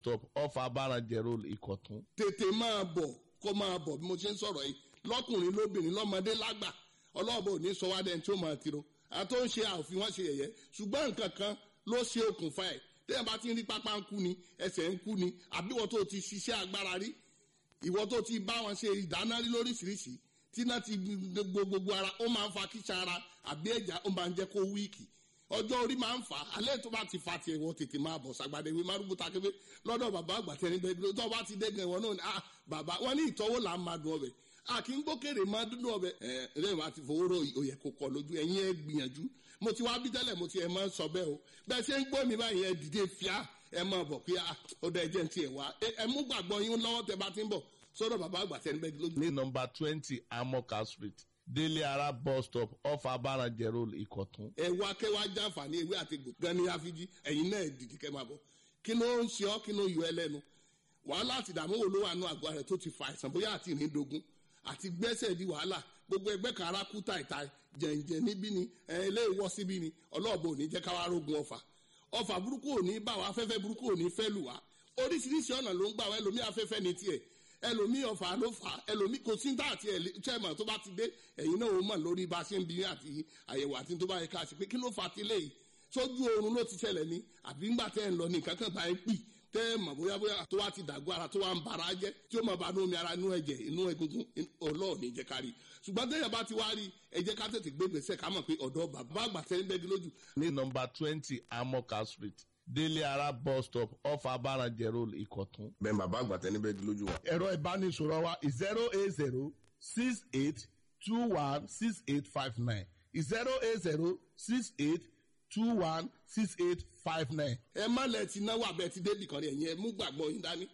stop off Abaranjẹ Road, Ìkọ̀tún. Tètè máa bọ̀, kó máa bọ̀ bí mo ṣe ń sọ̀rọ̀ yìí, lọ́kùnrin, lóbìnrin, lọ́mọdé, lágbà. Ọlọ́ọ̀bọ ò ní sọ wá dẹ́n tí ó máa tiro àti ó ń ṣe àòfin wọn ṣe yẹ̀yẹ́, ṣùgbọ́n nǹkan kan ló ṣe okùnfà ẹ̀. Téèyàn bá ti ń rí pápá ń kú ni, ẹsẹ̀ ń kú ni, àbí ìwọ tó ti ṣiṣẹ́ agbára rí, ìwọ tó ti bá wọn ṣe ìdáná rí lóríṣiríṣi, tí náà ti gbogbo ara, ó máa ń fa kíṣà ara àbí ẹ̀já, ó máa ń jẹ́ kó weak. Ọjọ́ orí máa ń fà á. Alẹ́ tó bá ti fa tiẹ̀, wọ́n tètè máa bọ̀ sàgbàdé wí márùbù takébé lọ́dọ̀ bàbá àgbà tẹni bẹ́ẹ̀. Tó bá ti dẹ́gàn, ìwọ náà ni, ah, bàbá wọn ní ìtọ́wò là ń máa dùn ọbẹ̀, a kì í gbókèrè máa dúdú ọbẹ̀. Ẹ lẹ́yìn wá ti fowó rò, òyẹ̀ kò kọ lójú ẹ̀yin. Ẹ gbìyànjú, mo ti wá bí tẹ́lẹ̀, mo ti ẹ̀ máa ń sọ bẹ́ẹ̀ o. Bẹ́ẹ̀ ṣe ń gbọ́ mi báyìí, ẹ dìde fíà, ẹ máa bọ̀ pé ó dá ẹjẹ́ ti ẹ̀ wá. Ẹ mú gbàgbọ́ yín lọ́wọ́ tẹ bá ti ń bọ̀ sọ́dọ̀ bàbá àgbà tẹni bẹ́ẹ̀ lójú. Ní nọ́mbà 20 Amoka Street, Délé Ara bus stop, off Abaranjẹ Road, Ìkọ̀tún. Ẹ wá kẹwàá jàǹfààní ewé àti egbò gan ni àfijì. Ẹ̀yin náà dìde kẹ́ máa bọ̀. Kí ló ń ṣe ọ́? Kí ló yọ ẹ lẹ́nu? Wàhálà àti ìdààmú wo ló wà nù àgọ́ rẹ̀ tó ti fa àìsàn, bóyá àti ìrìndògún àti gbẹ́sẹ̀ di wàhálà, gbogbo ẹgbẹ́ kan ara kú tàìtàì, jẹ̀ǹjẹ̀ níbí ni ẹ ilé ìwọ́ síbí ni? Ọlọ́ọ̀bọ ò ní jẹ́ káwá rógun ọ̀fà. Ọ̀fà burúkú ò ní bá wa, afẹ́fẹ́ burúkú ò ní fẹ́ lù wá. Oríṣiríṣi ọ̀nà ló ń gbà wá. Ẹlòmí afẹ́fẹ́ ní tiẹ̀, ẹlòmí ọ̀fà ló fà á, ẹlòmí kò sí tá àti chairman tó bá ti dé, ẹ̀yin náà ó mọ̀ lórí bá a ṣe ń bí àti àyẹ̀wò àti tó bá yẹ ká ṣe pé kí ló fà á tilẹ̀ yìí. Sójú oorun ló ti ṣẹlẹ̀ ni, àbí ńgbà tẹ́ ẹ̀ ń lọ ní nǹkan kan bá ẹ pì tẹ́ ẹ mọ̀ bóyá bóyá tó wá ti dàgbọ́ ara, tó wá ń bara jẹ́, tí ó máa bá inú omi ara, inú ẹ̀jẹ̀, inú egungun? Ọlọ́ọ̀ ní jẹ́ ká rí. Ṣùgbọ́n téèyàn bá ti wá rí, ẹ jẹ́ ká tètè gbé gbèsè, ká mọ̀ pé ọ̀dọ́ bàbá àgbà tẹ́ ń bẹ́gi lójú. Ní nọ́mbà 20 Amoka Street, Délé Ara bus stop, off Abaranjẹ Road, Ìkọ̀tún. Bẹ́ẹ̀ bàbá àgbà tẹni bẹ́ẹ̀ lójú wa. Ẹ̀rọ ìbánisọ̀rọ̀ wa 08068216859, 08068216859. Ẹ má lẹ ti náwó abẹ ti débì kan rí. Ẹ̀yin ẹ mú gbàgbọ́ yín dání.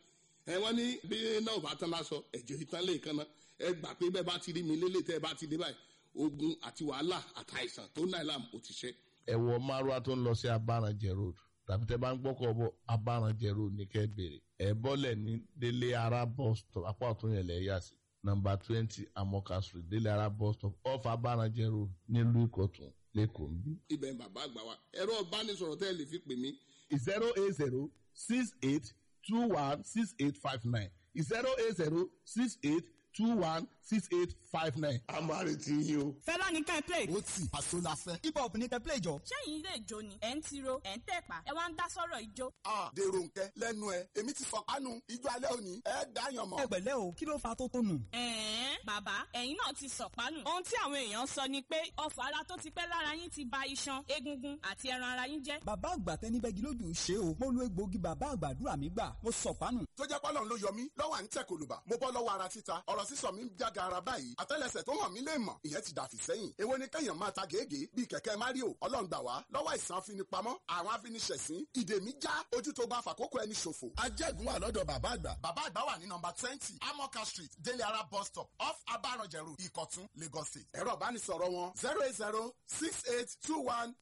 Ẹ wọ́n ní bí náà bá tán lásọ, ẹ̀jẹ̀ ìtàn lè kan náà. Ẹ gbà pé bẹ́ẹ̀ bá ti rí mi lélẹ̀, tẹ́ ẹ bá ti dé báyìí, ogun àti wàhálà àtàìsàn tó náà làm ò ti ṣe. Ẹ wọ márùwá tó ń lọ sí Abaranjẹ Road, tàbí tẹ́ bá ń gbọ́kọ̀ bọ̀, Abaranjẹ Road ní kẹ́ bèrè. Ẹ bọ́lẹ̀ ní Délé Ara bus stop, apá ọ̀tún yẹn lẹ̀ yà sí. Nọ́mbà 20 Amoka Street, Délé Ara bus stop, off Abaranjẹ Road, nílùú Ìkọ̀tún, lẹ́kọ̀ọ́ ń bí. Ibẹ̀ ń bàbá àgbà wa. Ẹ̀rọ ìbánisọ̀rọ̀ tẹ́ ẹ lè fi pè mí: 08068216859, 08068216859. A máa retí yín o. Fẹlá ní ká ẹ play. Ó tì àṣọ la fẹ́. Hip hop ní kẹ́ play jọ. Ṣẹ́yìn ilé ìjó ni ẹ̀ ń tiro, ẹ̀ ń tẹ̀pá, ẹ wá ń dá sọ̀rọ̀ ìjó? A dèrò nkẹ lẹ́nu ẹ, èmi ti fọ kánú ijó alẹ́ òní, ẹ dáyàn mọ́. Ẹ pẹ̀lẹ́ o, kí ló fa tó tó nù? Ẹ̀ẹ́n, bàbá, ẹ̀yin náà ti sọ̀pánù. Ohun tí àwọn èèyàn sọ ni pé ọfà ara tó ti pẹ́ lára yín ti ba iṣan, egungun àti ẹran ara yín jẹ́. Bàbá àgbà tẹni bẹ́gi lójú ṣe o. Mo lu egbòogi bàbá àgbàdúrà mi gbà, mo sọ̀pánù. Tó jẹ́ pọ́lọ́n ló yọ mí lọ́wọ́ à ń tẹ̀ kòlùbà, mo bọ́ lọ́wọ́ ara títa, ọ̀rọ̀ sísọ mi ń jága ara báyìí, àtẹ́lẹsẹ̀ tó hàn mí lè mọ̀, ìyẹn ti dàfí sẹ́yìn. Èwo ni kẹ́yàn máa ta gègé bíi kẹ̀kẹ́ Mario? Ọlọ́run gbà wá lọ́wọ́ àìsàn afinipamọ́ àwọn afiniṣẹ̀sín. Ìdè mi já, ojú tó bá fàkókò ẹni ṣòfò. Ajẹ́gun wà lọ́dọ̀ bàbá àgbà. Bàbá àgbà wà ní nọ́mbà 20 Amoka Street, Délé Ara bus stop, off Abaranjẹ Road, Ìkọ̀tún, Lagos State. Ẹ̀rọ ìbánisọ̀rọ̀ wọn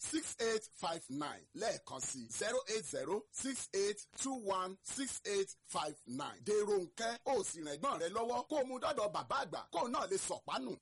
08068216859, lẹ́ẹ̀kan sí 08068216859. Dèrò nkẹ́, ó sì rìn ẹ̀gbọ́n rẹ lọ́wọ́ kó o mú dọ́dọ̀ bàbá àgbà kó o náà lè sọ̀pánù.